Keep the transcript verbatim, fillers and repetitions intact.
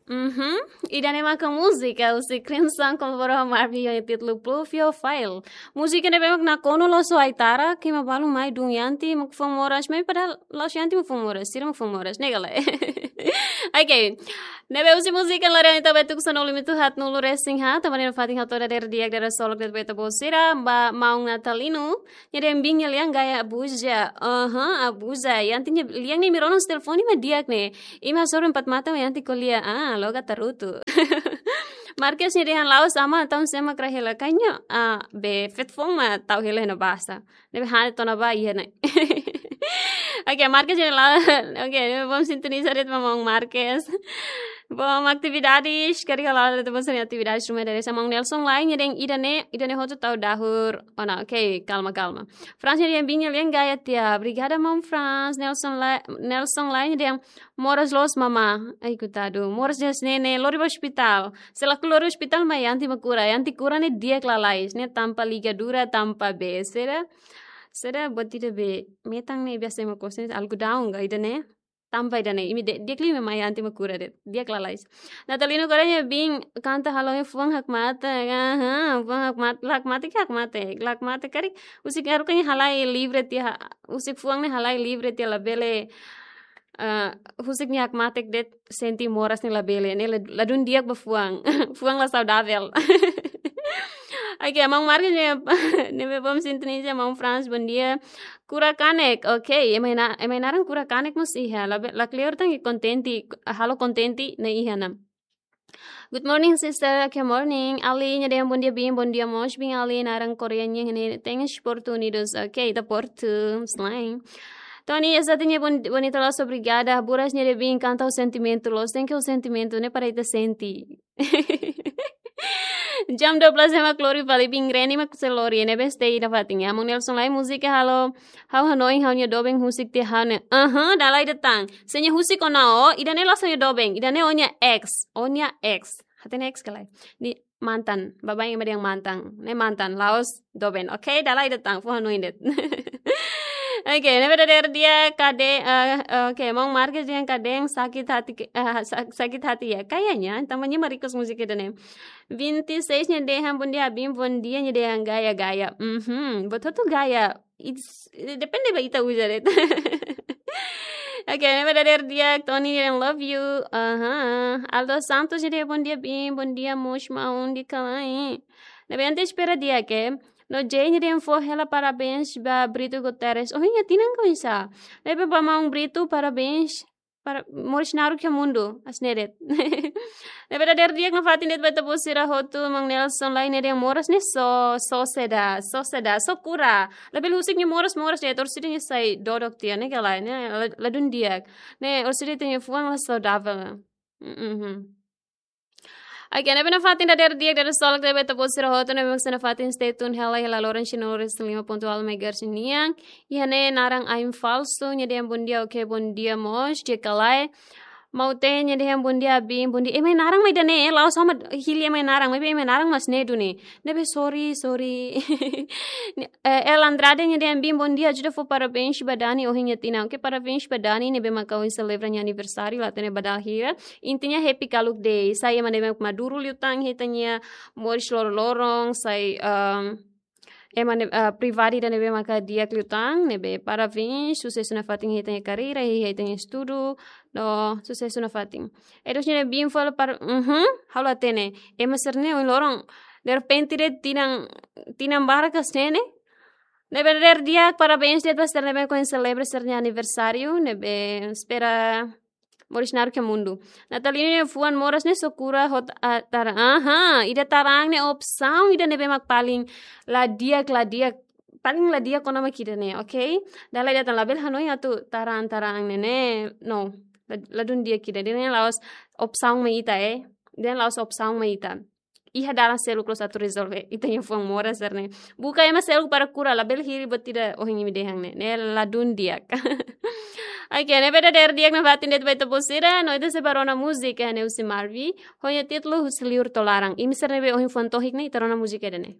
Mhm. Ida-ne'e maka múzika husi Crimson, kolaboradu ho Marvin, ho títulu Pluviofile. Múzika ne'ebé mak nakonu loos ho Aitara, ke ema balu mai dun Yanti mak fuan moras, maibé padahal la'ós Yanti mak fuan moras, sira mak fuan moras, ne'e ka lae? Oke. Ne'ebé husi múzika lori ami to'o ba tuku sanulu minutu haat-nulu resin haat, tanba ne'e nafatin hato'o dadeer di'ak, dadeer solok de'it ba ita-boot sira, ba maun Natalino, nia dehan biin nia lian gaya abuza. Aha, abuza. Yanti nia lian ne'e imi rona husi telefone mak di'ak ne'e. Imi hasoru empat mata mak Yanti ko'alia. Ah, loga tarutu. Marques nia dehan la'ós aman tau sema kra hela kanya. Ah, be feto foun mak tau hela iha ne'ebá sá. Ne'ebé hanesan tona ba iha ne'e. Oke, Marques nia la-, oke, ne'ebé bom sintoniza de'it ba maun Marques. Bom, atividades, karik halo de'it ba sira-nia atividades ruma dari sa maun Nelson Lai, nia dehan ida-ne'e, ida-ne'e hotu tau dahur. Oh, não, oke, kalma, kalma. Franz nia dehan biin nia lian gaya tiha. Obrigada, maun Franz. Nelson Lai, Nelson Lai nia dehan moras loos mamá. Ai, koitadu. Moras de'it ne'e, ne'e lori ba ospitál. Se lakohi lori ospitál mak Yanti mak kura. Yanti kura ne'e di'ak lalais. Ne'e tanpa ligadura, tanpa be. Sira, sira buat ida be. Metan ne'e biasa ema ko'alia algodão ka ida-ne'e. Tanba ida-ne'e, imi de-, di'ak liu mak Yanti mak kura de'it, di'ak lalais. Natalino Correia biin kanta halo fuan hakmatek, aha, fuan hakmat-, hakmatek, hakmatek, hakmatek karik, husik haruka nia halai livre tiha, husik fuan ne'e halai livre tiha labele, eh, husik nia hakmatek de'it sente moras ne'e labele, ne'e la-, ladún di'ak ba fuan, fuan la saudavel. Oke, maun Marques ne'e, ne'ebé bom sintoniza, maun Franz, bom dia. Kura kanek, oke. Ema nia na-, ema nia naran kura kanek mós iha. La be-, la kleur tan ke kontente, halo kontente ne'e iha ona. Good morning, sister. Good morning. Ali nia dehan bom dia, biin. Bom dia mós, biin Ali. Naran Korea nian ne'e. Thanks, Porto Unidos. Oke, ita Porto, selain. Tony, esa tiña bon-, bonita loos, obrigada. Buras nia dehan biin kanta ho sentimentu loos. Thank you, sentimentu ne'e para ita sente. Jam dua belas ema lori fali, biin Reni mak sei lori, ne'ebé stay nafatin. Maun Nelson Lai, múzika halo ha'u hanoin ha'u-nia doben husik tiha ha'u ne'e. Aha, dala ida tan. Se nia husik ona ó, ida-ne'e la'ós ó-nia doben, ida-ne'e ó-nia ex, ó-nia ex. Hatene ex ka lae? Ne'e mantan, baibain ema dehan mantan. Ne'e mantan, la'ós doben. Oke, dala ida tan, fó hanoin de'it. Oke, ne'ebé dadeer di'ak, kade, eh, oke, maun Marques dehan kadein sakit hati ke, eh, sa-, sakit hati ya. Kayaknya, tanba nia mak request múzika ida-ne'e. Vinte e seis nia dehan bom dia, biin, bom dia, nia dehan gaya, gaya. Mhm, buat hotu gaya. It's, depende ba ita uza de'it. Oke, ne'ebé dadeer di'ak, Tony dehan love you. Aha. Aldo Santos nia dehan bom dia, biin, bom dia mós maun, di'ak ka lae? Ne'ebé ita espera di'ak, eh. No Jay nia dehan fó hela parabéns ba Brito Guterres. Ohin nia tinan ka oinsá? Ne'ebé ba maun Brito, parabéns. Para moris naruk iha mundu, hanesan ne'e de'it. Ne'ebé dadeer di'ak nafatin de'it ba ita-boot sira hotu, maun Nelson Lai nia dehan moras ne'e só, só seda, só seda, só kura. Labele husik nia moras, moras de'it, orsida nia sai dodok tiha, ne'e ka lae, ne'e la-, ladún di'ak. Ne'e orsida ita-nia fuan la saudavel. Mhm. Oke, ne'ebé nafatin dadeer di'ak, dadeer solok de'it ba ita-boot sira hotu, ne'ebé mak sei nafatin stay tune hela iha la loran cien nol resin lima ponto nol megahertz nian. Iha ne'e naran Ain Falsu, nia dehan bom dia, oke, bom dia mós, di'ak ka lae? Maute nia dehan bom dia, biin, bom dia. Ema nia naran mak ida-ne'e, la'ós ha'u mak hili ema nia naran, maibé ema nia naran mak hanesan ne'e duni. Ne'ebé sorry, sorry. Ni-, eh, El Andrade nia dehan biin, bom dia, ajuda fó parabéns ba Dani ohin nia tinan. Oke, parabéns ba Dani, ne'ebé maka ohin selebra nia aniversáriu, la hatene ba dala hira. Intinya happy Kaluk Day. Sai ema ne'ebé mak maduru liután iha ita-nia moris loroloron, sai, ehm, ema ne'e, eh, pribadi ida ne'ebé maka di'ak liután, ne'ebé parabéns, susesu nafatin iha ita-nia karreira, iha ita-nia estudu, no susesu nafatin. Edos nia dehan biin fó hela par-, mhm, ha'u la hatene. Ema sira-ne'e ohin loron, derrepente de'it tinan, tinan barak hanesan ne'e. Ne'ebé dadeer di'ak, parabéns de'it ba sira ne'ebé mak ohin selebra sira-nia aniversáriu, ne'ebé espera moris naruk iha mundu. Natalino nia fuan moras ne'e só kura ho ta-, ah, tar-, aha, ida tarang ne'e opsaun ida ne'ebé mak paling la di'ak, la di'ak, paling la di'ak ona mak ida-ne'e, oke? Dala ida tan, labele hanoin atu tarang, tarang ne'e, ne'e, no, la-, ladún di'ak ida, ida-ne'e la'ós opsaun mak ita, eh. Ida-ne'e la'ós opsaun mak ita. Iha dalan seluk loos atu rezolve ita-nia fuan moras sira-ne'e. Buka ema seluk para kura, labele hili buat ida ohin imi dehan ne'e. Ne'e ladún di'ak. Oke, ne'ebé dadeer di'ak nafatin de'it ba ita-boot sira, no ita sei bá rona múzika ne'e husi Marvi, ho nia títulu Husi Liur To'o Laran. Imi sira ne'ebé ohin fuan tohik ne'e, ita rona múzika ida-ne'e.